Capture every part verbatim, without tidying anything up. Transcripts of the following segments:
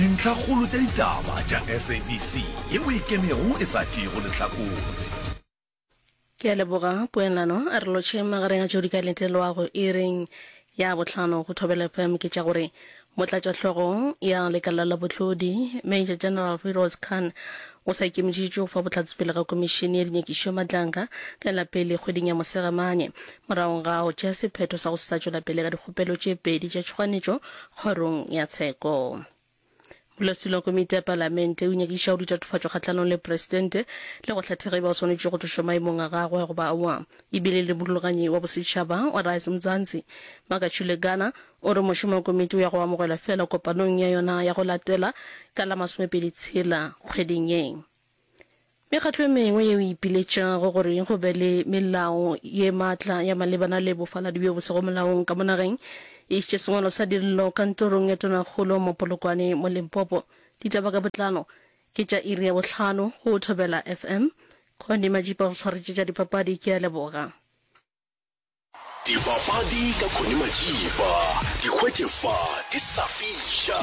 Dintlhakgolo tša ditaba tša S A B C yeo e ikemego e sa tšeego lehlakore. Ke a leboga poelano. A re lotšhe magareng a tšeo di ka letelwago iring ya bohlano go Thobela F M ke tša gore Motlatšahlogo ya Lekala la Bohlodi, Major General Firoz Khan o sa ikemišeditše go fa bohlatse pele ga Komišene ya Dinyakišo ya Madlanga ka la pele kgweding ya Mosegamanye morago ga go tšea sephetho sa go se sa tšwela pele ka dikgopelo tše pedi tša tšhoganetšo kgorong ya tsheko. Modulasetulo wa Komiti ya Palamente o nyakišišago ditatofatšo kgahlanong le Presidente le go hlatha ge e ba o swanetše go tlošwa maemong a gagwe goba aowa. E bile le morulaganyi wa bosetšhaba wa Rise Mzansi, Makachule Gana, o re mošomo wa komiti o ya go amogelwa feela kopanong ya yona ya go latela ka la masomepedi tshela kgweding ye. Mekgatlo e mengwe yeo e ipiletšago gore go be le melao ye matla ya malebana le bofaladi bjo bo sego molaong ka mo nageng e išitše sengwalo sa dillo kantorong ya Tonakgolo mo Polokwane mo Limpopo. Ditaba ka botlalo ke tša iri ya bohlano go Thobela F M. Connie Majipa o swaretše tša dipapadi. Ke a leboga. Dipapadi ka Connie Majiba, di hwetše fa di sa fiša.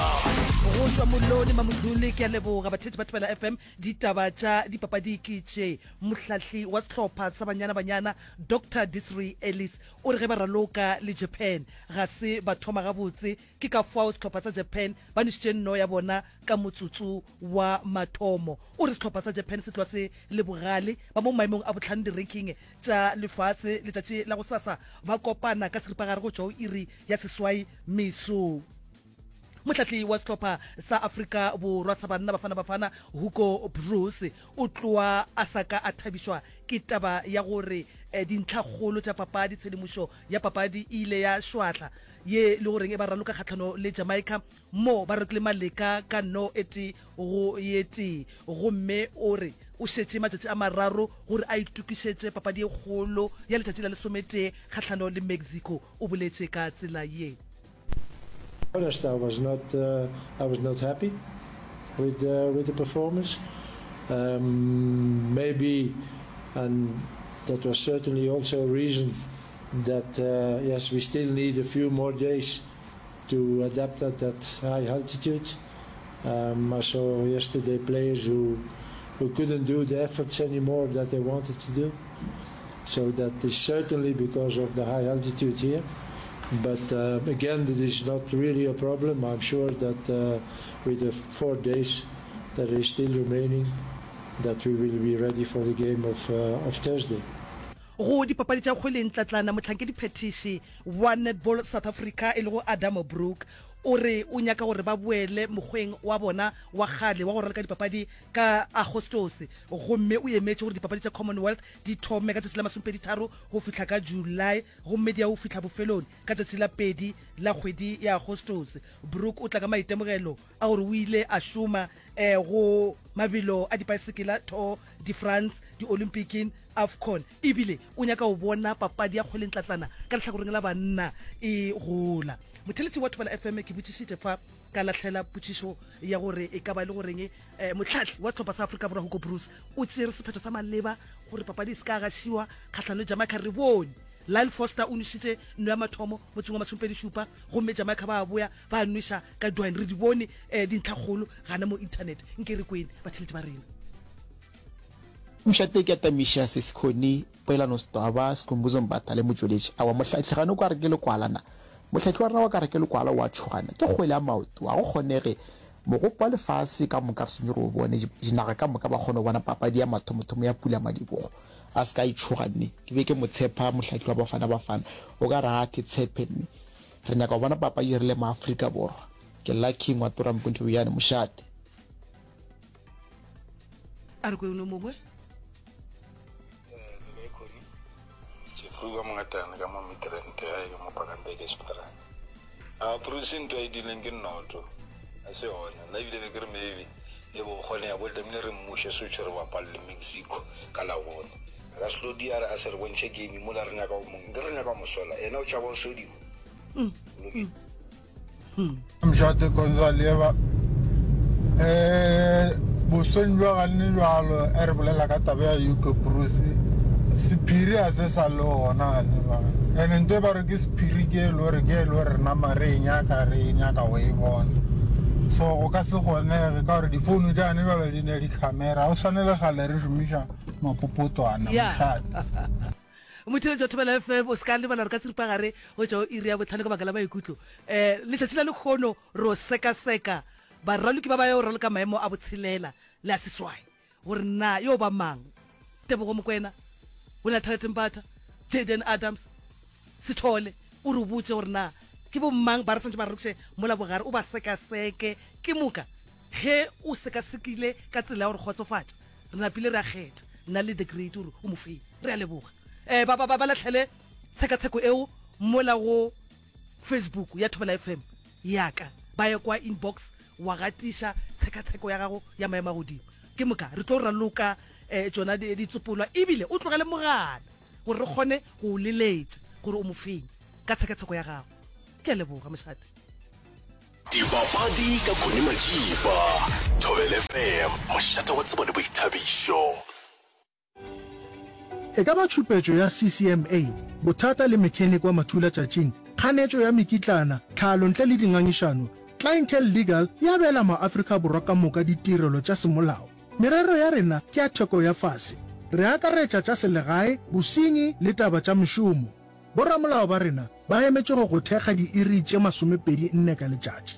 Go tšwa Molone Mamodlule, ke a leboga batheetši ba Thobela F M. Ditaba tša dipapadi ke tše. Mohlahli wa sehlopha sa Banyana Banyana Doctor Desiree Ellis o re ge ba raloka le Japan ga se ba thoma gabotse, ke ka fao sehlopha sa Japan ba nwešitše nno ya bona ka motsotso wa mathomo. O re sehlopha sa Japan se tloga se le bogale, ba mo maemong a bohlano di-ranking tša lefase. Letšatši la gosasa ba kopana ka seripagare go tšwa go iri ya seswai mesong. Mohlahli wa sehlopha sa Afrika Borwa sa banna Bafana Bafana Hugo Broos o tloa a sa ka a thabišwa ke taba ya gore dintlhakgolo tša papadi tshedimošo ya papadi e ile ya šwahla ye le goreng e ba raloka kgahlano le Jamaica mo ba rokile maleka ka no e tee go ye tee, gomme o re o šetše matšatši a mararo gore a itokišetše papadi e kgolo ya letšatši la lesometee kgahlano le Mexico. O boletše ka tsela ye. Honest, I was not uh, I was not happy with uh, with the performance. Um, maybe, and that was certainly also a reason that uh, yes, we still need a few more days to adapt at that high altitude. Um, I saw yesterday players who who couldn't do the efforts anymore that they wanted to do. So that is certainly because of the high altitude here. But uh, again, it is not really a problem. I'm sure that uh, with the four days that is still remaining, that we will be ready for the game of, uh, of Thursday. Go dipapadi tša kgwele ntlatlana, mohlankedi-phethiši wa Netball South Africa e lego Adam Brook o re o nyaka gore ba boele mokgweng wa bona wa kgale wa go raloka dipapadi ka Agostose, gomme o emetše gore dipapadi tša Commonwealth di thome ka tšatši la masomepedi tharo go fihla ka July gomme di ya go fihla bofelong ka tšatši la pedi la kgwedi ya Agostose. Brook o tla ka maitemogelo a gore o ile a šoma go mabelo a dipaesekela Tour de France, Diolympiking, AFCON ebile o nyaka go bona papadi ya kgwelentlatlana ka lehlakoreng la banna e gola. Motheeletši wa Thobela F M, ke botšišitše fa ka lahlela potšišo ya gore e ka ba e le goreng mohlahli wa sehlopha sa Afrika Borwa Hugo Broos o tšere sephetho sa maleba gore papadi e se ka gašiwa kgahlano le Jamaica. Re bone Lyle Foster o nwešitše nno ya mathomo motseng wa masomepedi šupa gomme Jamaica ba boya ba nweša ka Dwayne. Re di bone dintlhakgolo gana mo internet. Nke re kwene batheeletši ba rena. Mošate ke atamiša Sesikhoni, Poelano Setwaba, Sikhumbuzo Mbatha le Motšweletši. Aowa, mohlahli gane o ka re ke lekwala na? Mohlahli wa rena wa ka re ke lekwala o a tšhogana. Ke kgwele ya maoto, ga go kgonege. Mogopo wa lefase ka moka re swanetše re o bone, dinaga ka moka ba kgone go bona papadi ya mathomothomo ya pulamadibogo. A se ka e tšhoga nne. Ke be ke mo tshepa mohlahli wa Bafana Bafana. O ka re ga ke tshepe nne. Re nyaka go bona papadi re le maAfrika Borwa. Ke Lucky Ngwato Rampontšo Bojane, mošate. A re kwe no mongwe. Le kae Connie? Jeffrey ka Mongatane ka mo Midrand gae ka mo Bakenberg Esperance. A Bruce ntho a e dileng ke nnoto a se yona nna ebile be ke re maybe e bo kgonega bo tlamehile re mmuše switch re bapale le Mexico ka Labone re ka se tlo dia re a se re bontšhe game mola re nyaka go mo nke re nyaka go mo sola yena o tšhaba go sodiwa o lokile. Mošate Gonzaleva, um bosweng bja ganne bjalo e re bolela ka taba ya Hugo Broos, sephiri a se sa le gona ganne bjalo. Ene nto e ba re ke sephiri ke e le gore ke e le gore re nama re e nyaka re e nyaka go e bona. So go ka se kgonege ka gore difounu tša gane bjalo di ne di-camera, ga o swane le kgale re šomiša mapopotwana Ya. mošate. Motheeletši wa Thobela F M, o se ka lebala gore ka seripagare go tšwa go iri ya bohlano ka baka la maikutlo. Um letšatši la lekgono ro sekaseka baraloki ba ba yo raloka maemo a botshelela le a seswai gore na yo ba mang, Tebogo Mokoena, Wena Thalete Mbatha, Jayden Adams, Sithole. O re botše gore na ke bo mang ba re swantše ba ralokiše mola bogare, o ba sekaseke. Ke moka ge o sekasekile ka tsela ya go re kgotsofatša, re napile re a kgetha nna le The Great gore o mo feng. Re a leboga. Um ba, ba, ba, ba lahlele tshekatsheko eo mola go Facebook ya Thobela F M ya ka, ba ye kwa inbox wa gatiša tshekatsheko ya gago ya maemo a godimo. Ke moka re tlo raloka um tšona ditsopolwa, ebile o tlogele mogala gore re kgone go o leletša gore o mo feng ka tshekatsheko ya gago. Ke a leboga mošate. Dipapadi ka Connie Majiba, Thobela F M, mošate wa tsebo le boithabišo. E ka ba tšhupetšo ya C C M A, bothata le mechanic wa mathulatšatšing, kganetšo ya mekitlana, tlhalo ntle le dingangišano, Clientele Legal e abela maAfrika Borwa ka moka ditirelo tša semolao. Merero ya rena ke ya theko ya fase. Re akaretša tša selegae, bosenyi le taba tša mešomo. Boramolao ba rena ba emetše go go thekga diiri tše masomepedi nne ka letšatši.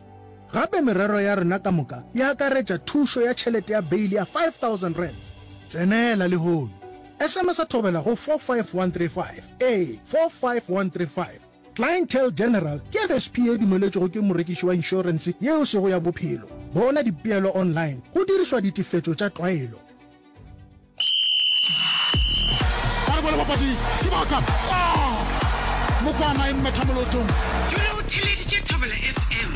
Gape merero ya rena ka moka e akaretša thušo ya tšhelete ya beile ya five thousand rands. Tsenela lehono. S M S Thobela go four five one three five. Ee, four five one three five. Clientele General ke F S P ye dumeletšwego ke morekiši wa inšorense yeo e sego ya bophelo. Bona dipeelo online go dirišwa ditefetšo tša tlwaelo. Ba re bole bapadi sebaka. Ah! Mokwana e mmetha molotong. Dula o theeleditše Thobela F M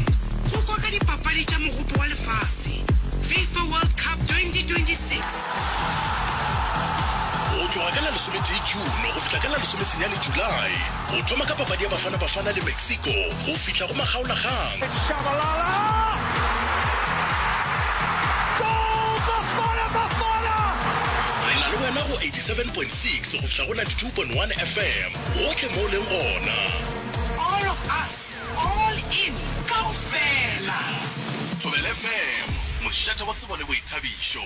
go kwa ka dipapadi tša Mogopo wa Lefase, FIFA World Cup twenty twenty-six. Go tloga ka la lesometee June go fihla ka la lesomesenyane July, go thoma ka papadi ya Bafana Bafana le Mexico go fihla go makgaolakgang. Shabalala! Goal! Bafana Bafana! Re na le wena go eighty-seven point six go fihla go ninety-two point one F M, gohle mo o leng gona. All of us, all in, kaofela. Thobela F M, mošate wa tsebo le boithabišo.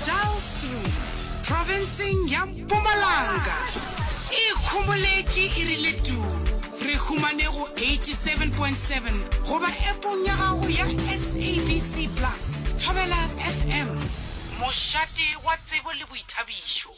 Dullstroom, profenseng ya Mpumalanga, e ikhomoletše e rile tuu. Re humane go eighty-seven point seven goba appong ya gago ya S A B C Plus. Thobela F M, mošate wa tsebo le boithabišo.